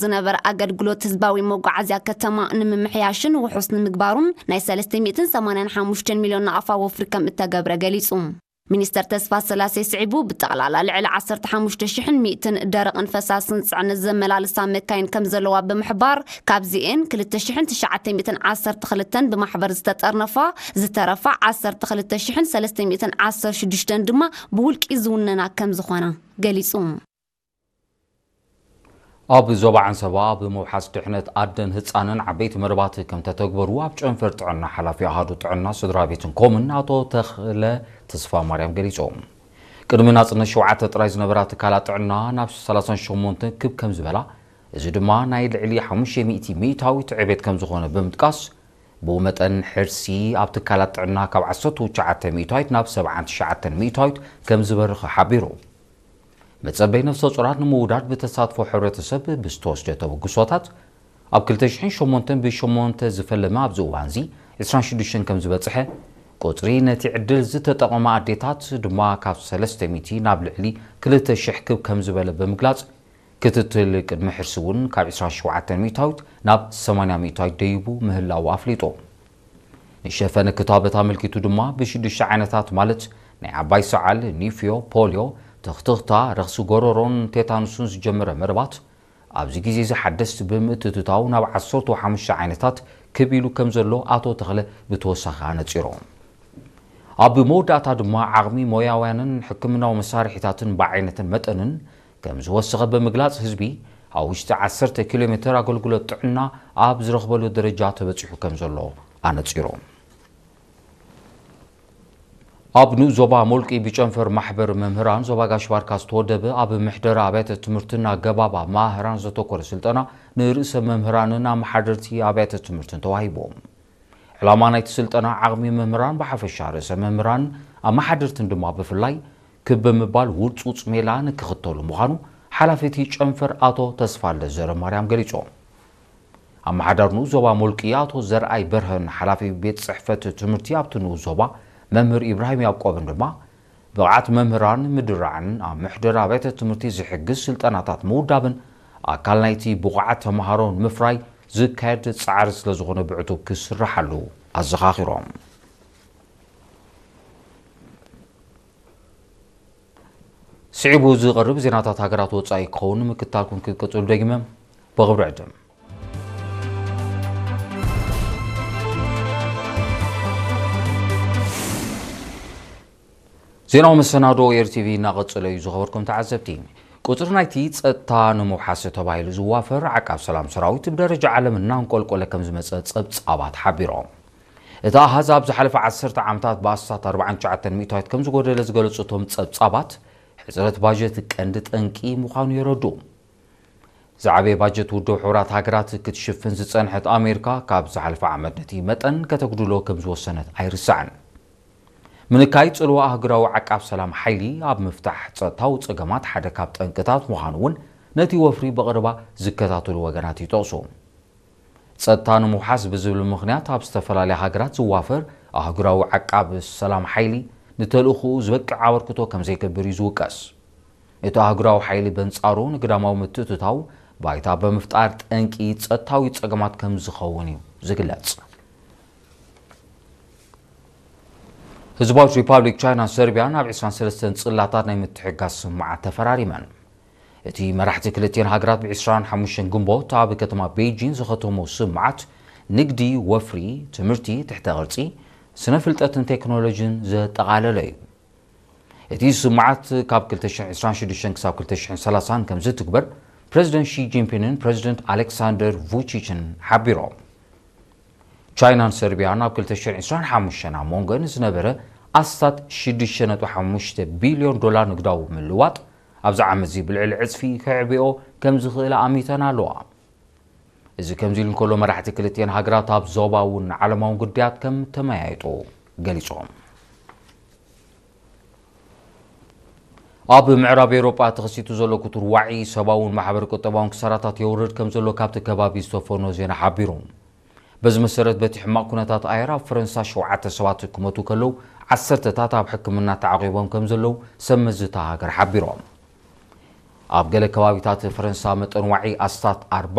ዝነበረ ኣገልግሎት ህዝባዊ መጓዓዝያ ከተማ ንምምሕያሽን ውሑስ ንምግባሩን ናይ ሰለስተ ሚእትን ሰማንያን ሓሙሽተን ሚልዮን ናቕፋ ወፍሪ ከም እተገብረ ገሊጹ። ሚኒስተር ተስፋ ስላሴ ስዒቡ፣ ብጠቕላላ ልዕሊ ዓሰርተ ሓሙሽተ ሽሕን ሚእትን ደረቕን ፈሳስን ጽዕነት ዘመላልሳ መካይን ከም ዘለዋ ብምሕባር፣ ካብዚኤን ክልተ ሽሕን ትሽዓተ ሚእትን ዓሰርተ ክልተን ብማሕበር ዝተጠርነፋ፣ ዝተረፋ ዓሰርተ ክልተ ሽሕን ሰለስተ ሚእትን ዓሰርተ ሽዱሽተን ድማ ብውልቂ ዝውነና ከም ዝኾና ገሊጹ። ኣብ ዞባ ዓንሰባ ብምውሓስ ድሕነት ኣደን ህጻንን ዓበይቲ መደባት ከም ተተግበሩ ኣብ ጨንፈር ጥዕና ሓላፊ ኣሃዱ ጥዕና ስድራ ቤትን ኮምን ኣቶ ተኽለ ተስፋ ማርያም ገሊጾም። ቅድሚ ናጽነት ሸውዓተ ጥራይ ዝነበራ ትካላት ጥዕና ናብ ሰላሳን ሸሞንተን ክብ ከም ዝበላ፣ እዚ ድማ ናይ ልዕሊ ሓሙሽተ ሚእቲ ሚእታዊት ዕቤት ከም ዝኾነ ብምጥቃስ፣ ብኡ መጠን ሕርሲ ኣብ ትካላት ጥዕና ካብ ዓሰርተ ትሽዓተ ሚእታዊት ናብ ሰብዓን ትሽዓተን ሚእታዊት ከም ዝበርኸ ሓቢሩ። መጸበይ ነፍሰ ጾራት ንምውዳድ ብተሳትፎ ሕብረተሰብ ብዝተወስደ ተበግሶታት፣ ኣብ ክልተ ሽሕን ሸሞንተን ብሸሞንተ ዝፈለመ ኣብዚ እዋንዚ ዕስራን ሽዱሽተን ከም ዝበጽሐ፣ ቁጽሪ ነቲ ዕድል ዝተጠቐማ ኣዴታት ድማ ካብ ሰለስተ ሚእቲ ናብ ልዕሊ ክልተ ሽሕ ክብ ከም ዝበለ ብምግላጽ፣ ክትትል ቅድሚ ሕርሲ እውን ካብ ዕስራን ሸውዓተን ሚእታዊት ናብ ሰማንያ ሚእታዊት ደይቡ ምህላዉ ኣፍሊጡ። ንሸፈነ ክታበት ኣመልኪቱ ድማ ብሽዱሽተ ዓይነታት ማለት ናይ ዓባይ ሰዓል፣ ኒፍዮ፣ ፖልዮ፣ ትኽትኽታ፣ ረኽሲ ጎረሮን ቴታኑስን ዝጀመረ መደባት ኣብዚ ግዜ እዚ ሓደስቲ ብምትእትታው ናብ ዓሰርተ ሓሙሽተ ዓይነታት ክብ ኢሉ ከም ዘሎ ኣቶ ተኽለ ብተወሳኺ ኣነጺሮም። ኣብ መወዳእታ ድማ ዓቕሚ ሞያውያንን ሕክምናዊ መሳርሒታትን ብዓይነትን መጠንን ከም ዝወሰኸ ብምግላጽ ህዝቢ ኣብ ውሽጢ ዓሰርተ ኪሎ ሜትር ኣገልግሎት ጥዕና ኣብ ዝረኽበሉ ደረጃ ተበጺሑ ከም ዘሎ ኣነጺሮም። ኣብ ንኡስ ዞባ ሞልቂ ብጨንፈር ማሕበር መምህራን ዞባ ጋሽ ባርካ ዝተወደበ ኣብ ምሕደራ ኣብያተ ትምህርትን ኣገባብ ኣመሃህራን ዘተኮረ ስልጠና ንርእሰ መምህራንን ኣመሓደርቲ ኣብያተ ትምህርትን ተዋሂቦም። ዕላማ ናይቲ ስልጠና ዓቕሚ መምህራን ብሓፈሻ ርእሰ መምህራን ኣመሓደርትን ድማ ብፍላይ ክብ ብምባል ውርጹጽ ሜላ ንክኽተሉ ምዃኑ ሓላፊ እቲ ጨንፈር ኣቶ ተስፋልደ ዘረማርያም ገሊጾም። ኣመሓዳር ንኡስ ዞባ ሞልቂ ኣቶ ዘርኣይ በርሀን ሓላፊ ቤት ጽሕፈት ትምህርቲ ኣብቲ ንኡስ ዞባ መምህር ኢብራሂም ያዕቆብን ድማ ብቕዓት መምህራን ምድራዕን ኣብ መሕደሪ ኣብያተ ትምህርቲ ዝሕግዝ ስልጠናታት ምውዳብን ኣካል ናይቲ ብቑዓት ተምሃሮ ንምፍራይ ዝካየድ ጻዕሪ ስለ ዝኾነ ብዕቱብ ክስርሓሉ ኣዘኻኺሮም። ስዒቡ ዝቐርብ ዜናታት ሃገራት ወጻኢ ክኸውን ምክታልኩም ክትቅጽሉ ደጊመ ብኽብሪ ዕድም። ዜናዊ መሰናዶ ኤር ቲቪ እናቐጸለ እዩ። ዝኸበርኩም ተዓዘብቲ፣ ቁጽሪ ናይቲ ጸጥታ ንምውሓስ ተባሂሉ ዝዋፈር ዓቃብ ሰላም ሰራዊት ብደረጃ ዓለም እናንቆልቆለ ከም ዝመጸ ጸብጻባት ሓቢሮም። እቲ ኣሃዝ ኣብ ዝሓለፈ ዓሰርተ ዓመታት ብኣስታት ኣርባዓን ትሽዓተን ሚእታዊት ከም ዝጎደለ ዝገለጹ እቶም ጸብጻባት፣ ሕጽረት ባጀት ቀንዲ ጠንቂ ምዃኑ የረድኡ። ዝዓበየ ባጀት ውድብ ሕቡራት ሃገራት ክትሽፍን ዝጸንሐት ኣሜሪካ፣ ካብ ዝሓለፈ ዓመት ነቲ መጠን ከተጉድሎ ከም ዝወሰነት ኣይርሳዕን። ምንካይ ጽልዋ ኣህጉራዊ ዓቃብ ሰላም ሓይሊ ኣብ ምፍታሕ ጸጥታዊ ጸገማት ሓደ ካብ ጠንቅታት ምዃኑ እውን ነቲ ወፍሪ ብቐረባ ዝከታተሉ ወገናት ይጠቕሱ። ጸጥታ ንምውሓስ ብዝብል ምኽንያት ኣብ ዝተፈላለያ ሃገራት ዝዋፈር ኣህጉራዊ ዓቃብ ሰላም ሓይሊ ንተልእኾኡ ዝበቅዕ ኣበርክቶ ከም ዘይገብር እዩ ዝውቀስ። እቲ ኣህጉራዊ ሓይሊ በንጻሩ ንግዳማዊ ምትእትታው ባይታ ብምፍጣር ጠንቂ ጸጥታዊ ጸገማት ከም ዝኸውን እዩ ዝግለጽ። ህዝባዊት ሪፓብሊክ ቻይናን ሰርቢያን ኣብ ዕስራን ሰለስተን ጽላታት ናይ ምትሕግጋዝ ስምምዓት ተፈራሪመን። እቲ መራሕቲ ክልቲኤን ሃገራት ብ ዕስራን ሓሙሽተን ግንቦት ኣብ ከተማ ቤይጂን ዝኸተሞ ስምምዓት ንግዲ፣ ወፍሪ፣ ትምህርቲ፣ ትሕተ ቅርጺ፣ ስነ ፍልጠትን ቴክኖሎጂን ዘጠቓለለ እዩ። እቲ ስምምዓት ካብ ክልተ ሽሕን ዕስራን ሽዱሽተን ክሳብ ክልተ ሽሕን ሰላሳን ከም ዝትግበር ፕረዚደንት ሺ ጂንፒንግን ፕረዚደንት ኣሌክሳንደር ቩቺችን ሓቢሮም። ቻይናን ሰርቢያን ኣብ ክልተ ሽሕን ዕስራን ሓሙሽተን ኣብ መንጎን ዝነበረ ኣስታት ሽዱሽተ ነጥቢ ሓሙሽተ ቢልዮን ዶላር ንግዳዊ ምልዋጥ ኣብዚ ዓመት እዚ ብልዕሊ ዕጽፊ ከዕብዮ ከም ዝኽእል ኣሚተን ኣለዋ። እዚ ከምዚ ኢሉ እንከሎ፣ መራሕቲ ክልቲኤን ሃገራት ኣብ ዞባውን ዓለማውን ጉዳያት ከም ተመያየጡ ገሊጾም። ኣብ ምዕራብ ኤውሮጳ ተኸሲቱ ዘሎ ክቱር ዋዒ ሰብኣውን ማሕበረ ቁጠባውን ክሳራታት የውርድ ከም ዘሎ ካብቲ ከባቢ ዝተፈኖ ዜና ሓቢሩ። በዚ መሰረት፣ በቲ ሕማቕ ኩነታት ኣየር ኣብ ፈረንሳ ሸውዓተ ሰባት ክሞቱ ከለዉ፣ ዓሰርተታት ኣብ ሕክምና ተዓቒቦም ከም ዘለዉ ሰብ መዚ እታ ሃገር ሓቢሮም። ኣብ ገለ ከባቢታት ፈረንሳ መጠን ዋዒ ኣስታት ኣርባ